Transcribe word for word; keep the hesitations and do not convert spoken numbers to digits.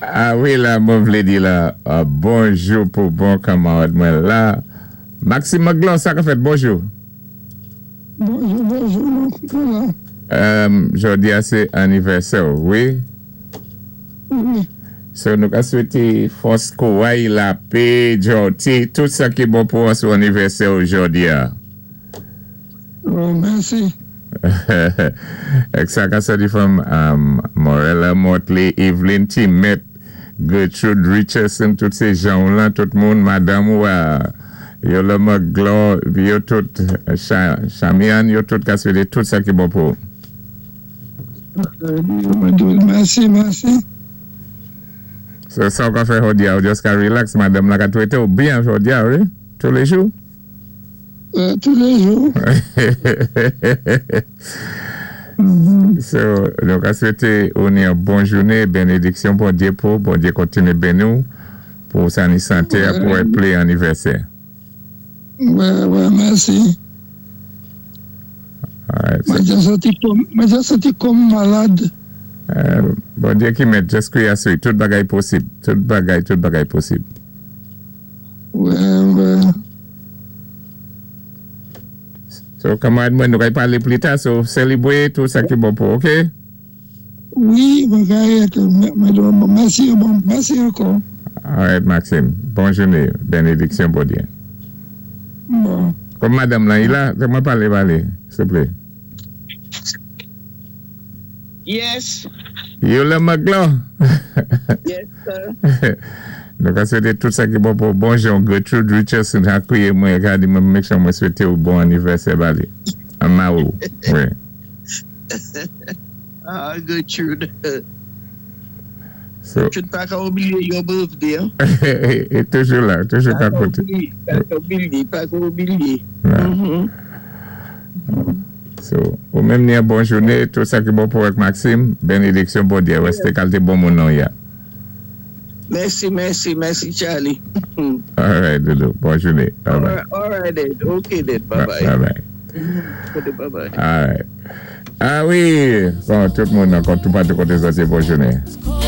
Ah wi, la, mwen vlé di la, uh, bonjou pou bon kanmarad mwen la. Maxime Magloire, sa ka fèt, bonjou. Bonjou, bonjou, voilà. Um, jòdi a sé anivèsè, wi. Wi. So, nou ka swété fòs kouray, lapè, jòti, tout sa ki bon pou sou anivèsè jòdi a. Oh, mèsi. Ek sa ka soti from um, Morella Motley, Evelyn Timet, Gertrude Richardson, tout sé jan la, tout moun, madanm ou uh, Yola Magloire, yo tout, Cha- Chamian, yo tout ka swété tout sa ki bon pou. Euh, Mèsi, mèsi. So, sa ou ka fè jòdi a, ou just ka relax, madanm la ka twété ou byen jòdi a, wi? Tous les jours? Euh, tous les jours. Mhm. So, nou ka swété ou ni yon bon jouné, bénédiksyon Bondyé pou, Bondyé kontiné béni ou, pou sa ni santé a pou wè plis anivèsè. Ouais, ouais, mèsi. Alright, so, Mwen ja santi kòm, mwen ja santi kòm malad. euh, Bondyé ki mèt, just kwiyé asou, tout bagay posib, tout bagay, tout bagay posib. Ouais, ouais. So, kanmarad mwen, nou kay palé pli ta, so, sélébwé tout sa ki bon pou, ok? Wi, bagay, mwen, mèsi, bon, mèsi ankò. Alright, Maxime, bon jouné, bénédiksyon Bondyé. Bon. Kòm madanm lan, i la, mwen palé, palé, souplé. Yes, Yola Magloire. yes, sir. Nou ka swété tout sa ki bon pou bonjou Gertrude Richardson a kwiyé mwen ka di mwen make sure mwen swété ou bon anivèsè ba li. An ma ou. Wi. Ah, Gertrude. So, Gertrude pa ka oubliyé your birthday. Hein? é toujou la, toujou Pa ka ka koté. oubliyé, pa ka oubliyé, pa ka oubliyé. Ouais. Mhm. So, ou menm ni yon bon jouné, tout sa ki bon pou ak Maxime, bénédiksyon Bondyé, wè sé kalité bon moun nan ya. Mèsi, mèsi, mèsi, Charlie. Alright, Doudou, bon jouné. Bye All bye. right, all right then. Okay then. Bye bye. Bye bye. Okay, bye bye. Alright. Ah wi, bon, tout moun ankò, tout patou koté sa, sé bon jouné.